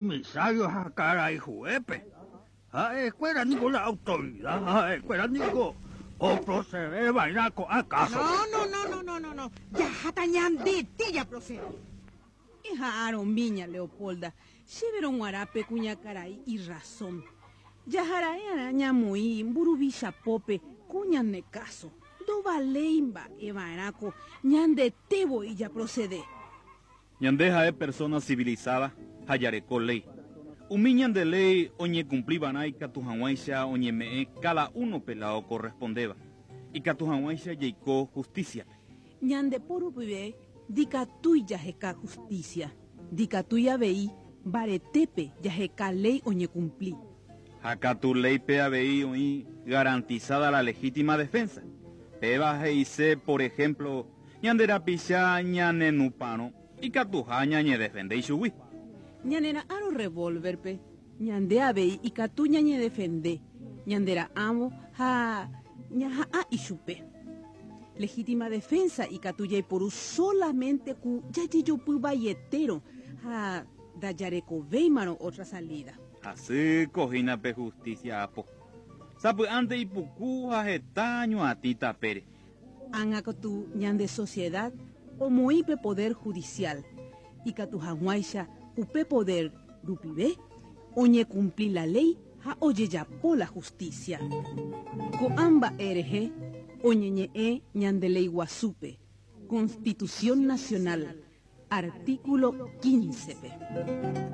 Comisario ha karai juépe. Ha'ekuéra niko la autoridad, ha'ekuéra niko oprocede va'erã ko'ã kásope. No, no, no, no, no, no, no. Jaháta ñandete japrocede. Eha'arõmi ña Leopolda, chéverõ g̃uarã pe kuñakarai irrazón. Jahara'e'arã ñamoĩ mburuvicha pópe ko ñane káso. Ndovaléi mba'e va'erãko ñandete voi japrocede. Ñande ha'e persona civilizada ha jareko léi. Umi ñande léi oñekumpli va'erã ikatu hag̃uáicha oñeme'ẽ cada uno-pe la okorrespondéva, ikatu hag̃uáicha jaiko justicia-pe. Ñande po rupive ndikatúi jaheka justicia, ndikatúi avei mbaretépe jaheka léi oñekumpli. Ha katu léipe avei oĩ garantizada la legítima defensa. Péva he'ise, por ejemplo, ñande rapicha ñanenupãrõ ikatuha ñañedefende ichugui. Ñanera'ãrõ revólver-pe, ñande avei ikatu ñañedefende, ñandera'ãvo ha ñaha'ã ichupe. Legítima defensa ikatu jaiporu solamente ku jajejopy vaietérõ ha ndajarekovéimarõ otra salida. Hasýko hína pe justicia apo. Sapy'ánte ipuku ha heta ñuatĩ tapére. Ág̃a katu ñande sociedad omoĩ pe poder judicial, ikatu hag̃uáicha upe poder rupive oñekumpli la léi ha ojejapo la justicia. Ko'ã mba'e rehe oñeñe'ẽ ñande Léi Guasúpe, Constitución Nacional, artículo 15-pe.